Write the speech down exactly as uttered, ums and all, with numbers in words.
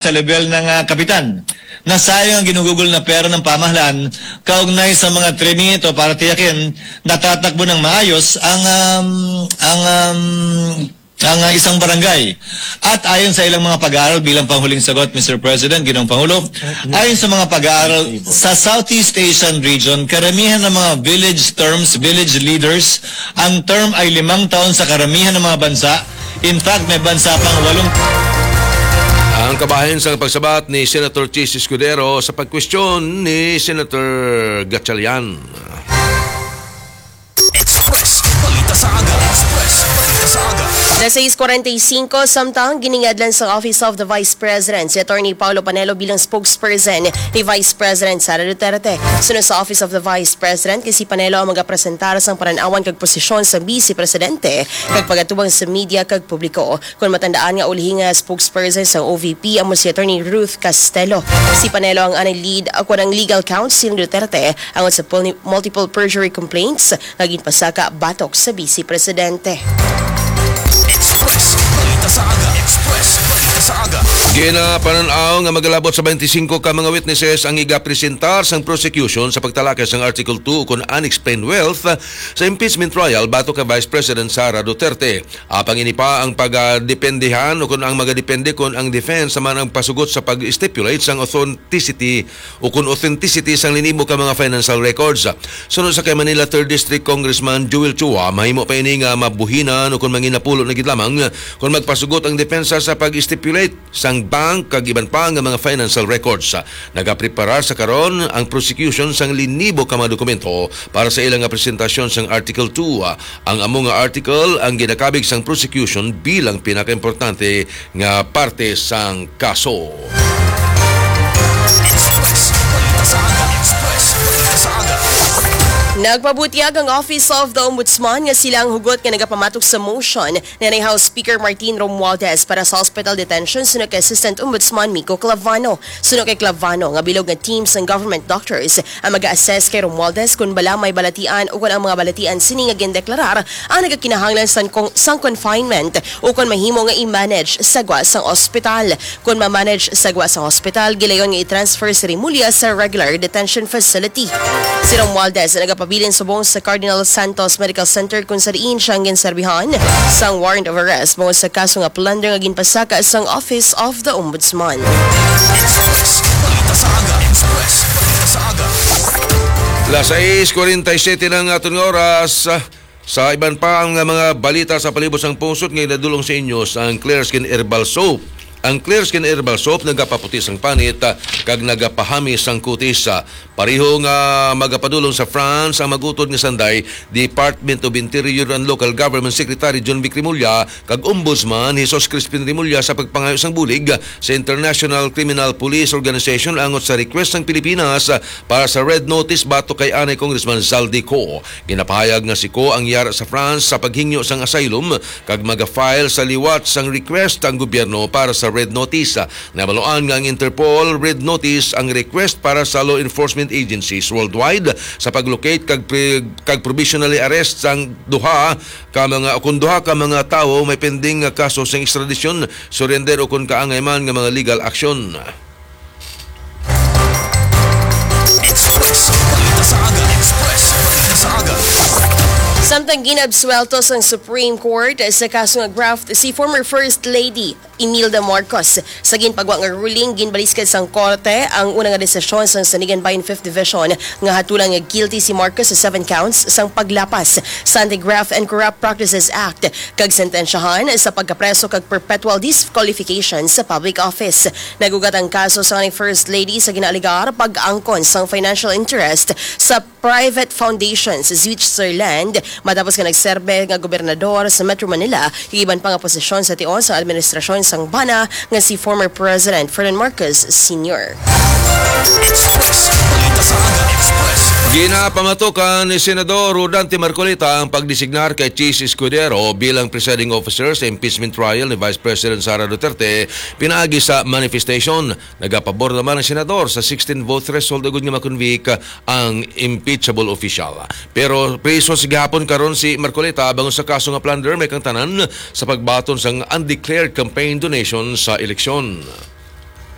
sa level ng, ah, kapitan. Nasayang ang ginugugol na pera ng pamahalaan kaugnay sa mga trimit o para tiyakin natatakbo ng maayos ang, um, ang, um, ang, ah, isang barangay. At ayon sa ilang mga pag-aaral, bilang panghuling sagot, Mister President, Ginoong Pangulo, ayon sa mga pag-aaral sa Southeast Asian region, karamihan ng mga village terms, village leaders, ang term ay limang taon sa karamihan ng mga bansa. In fact, may bansa pang walong Ang kabahin sang pagsabat ni Senator Chiz Escudero sa pagkwestiyon ni Senator Gatchalian. Express Balita sa Aga. Express Balita sa Aga. Alas sais kwarenta y singko, samtang giningadlan sa Office of the Vice President si Attorney Paulo Panelo bilang spokesperson ni Vice President Sara Duterte. Sunod sa Office of the Vice President, kay si Panelo ang magapresentar sang panan-awan kag posisyon sa Vice Presidente kag pagatubang sa media kag publiko. Kon matandaan nga ulihi nga spokesperson sa O V P amo si Attorney Ruth Castelo. Si Panelo ang anay lead, ah, kon ang legal counsel ni Duterte angot sa pul-, multiple perjury complaints nga ginpasaka batok sa Vice Presidente. Express Balita sa Aga. Express Balita sa Aga. Ginapanan-aw nga magalabot sa twenty-five ka mga witnesses ang igapresentar sang prosecution sa pagtalakay sang Article two kon unexplained wealth sa impeachment trial batok kay Vice President Sara Duterte. Apang ini pa ang pagadependehan o kon ang magadepende kon ang defense man ang pasugot sa pag-stipulate sang authenticity o kon authenticity sang linibo ka mga financial records. Suno sa kay Manila Third District Congressman Joel Chua, mahimo pa ini nga mabuhinan o kon manginapulo na gid lamang kon magpasugot ang depensa sa pag-stipulate sang bank kag iban pa nga mga financial records. Nagapreparar sa karon ang prosecution sang linibo ka mga dokumento para sa ilang nga presentasyon sang Article two. Ang amo nga article ang ginakabig sang prosecution bilang pinakaimportante nga parte sang kaso. Express Balita sa Aga. Express Balita sa Aga. Nagpabutyag ang Office of the Ombudsman nga sila ang hugot nga nagapamatok sa motion ni House Speaker Martin Romualdez para sa hospital detention suno kay Assistant Ombudsman Miko Clavano. Suno kay Clavano nga bilog nga team sang government doctors ang mag-assess kay Romualdez kon bala may balatian o kon ang mga balatian sini nga gindeklarar ang nagakinahanglan sang con-, sang confinement o kon mahimo nga i-manage sa gwa sang ospital. Kon ma-manage sa gwa sang ospital, gilayon nga i-transfer si Remulla sa regular detention facility. Si Romualdez nagapabilin subong sa Cardinal Santos Medical Center kung sa diin siya ang ginserbihan sang warrant of arrest bangod sa kaso nga plunder nga ginpasaka sang Office of the Ombudsman. Express Balita sa Aga. Express Balita sa Aga. Alas sais kwarenta y siyete na ang aton nga oras. Sa iban pa nga mga balita sa palibot sang pungsod nga inadulong sa inyo sang Clear Skin Herbal Soap. Ang Clear Skin Herbal Soap nagapaputi sang panit, ah, kag nagapahamis sang kutis, ah. Pareho nga magapadulong sa France ang mag-utod nga sanday, Department of Interior and Local Government Secretary John Vic Remulla kag Ombudsman Jesus Crispin Remulla sa pagpangayo sang bulig sa International Criminal Police Organization angot sa request sang Pilipinas para sa Red Notice batok kay anay Congressman Zaldy Co. Ginapahayag nga si Co ang yara sa France sa paghingyo sang asylum kag maga-file sa liwat sang request ang gobyerno para sa Red Notice. Nabaloan nga ang Interpol Red Notice ang request para sa law enforcement agencies worldwide sa pag-locate kag pre-, kag provisionally arrest sang duha ka mga, kung duha ka mga tawo may pending nga kaso sang extradition, surrender o kung kaangay man nga mga legal action. Express Balita sa Aga. Express Balita sa Aga. Samtang ginabsuwelto sang Supreme Court sa kaso nga graft si former First Lady Imelda Marcos sa ginpagwa nga ruling, ginbaliskad sang korte ang una nga desisyon sang Sandiganbayan Fifth Division nga hatulan nga guilty si Marcos sa seven counts sang paglapas sa Anti-Graft and Corrupt Practices Act kag sentensyahan sa pagkapreso kag perpetual disqualification sa public office. Nag-ugat ang kaso sa anay First Lady sa ginaalegar pag-angkon sang financial interest sa private foundation sa Switzerland matapos nga nagserbe nga gobernador sa Metro Manila kag iban pa nga posisyon sa tion sa administrasyon sang bana nga si former President Ferdinand Marcos Senior. Express. Balita sa Aga Express. Ginapamatukan ni Senador Rodante Marcoleta ang pagdesignar kay Chiz Escudero bilang presiding officer sa impeachment trial ni Vice President Sara Duterte pinaagi sa manifestation. Nagapabor naman ang senador sa sixteen vote threshold agud nga ma-convict ang impeachable official. Pero priso sa gihapon karon si Marcoleta bangod sa kaso nga plunder may kangtanan sa pagbaton sang undeclared campaign donation sa eleksyon.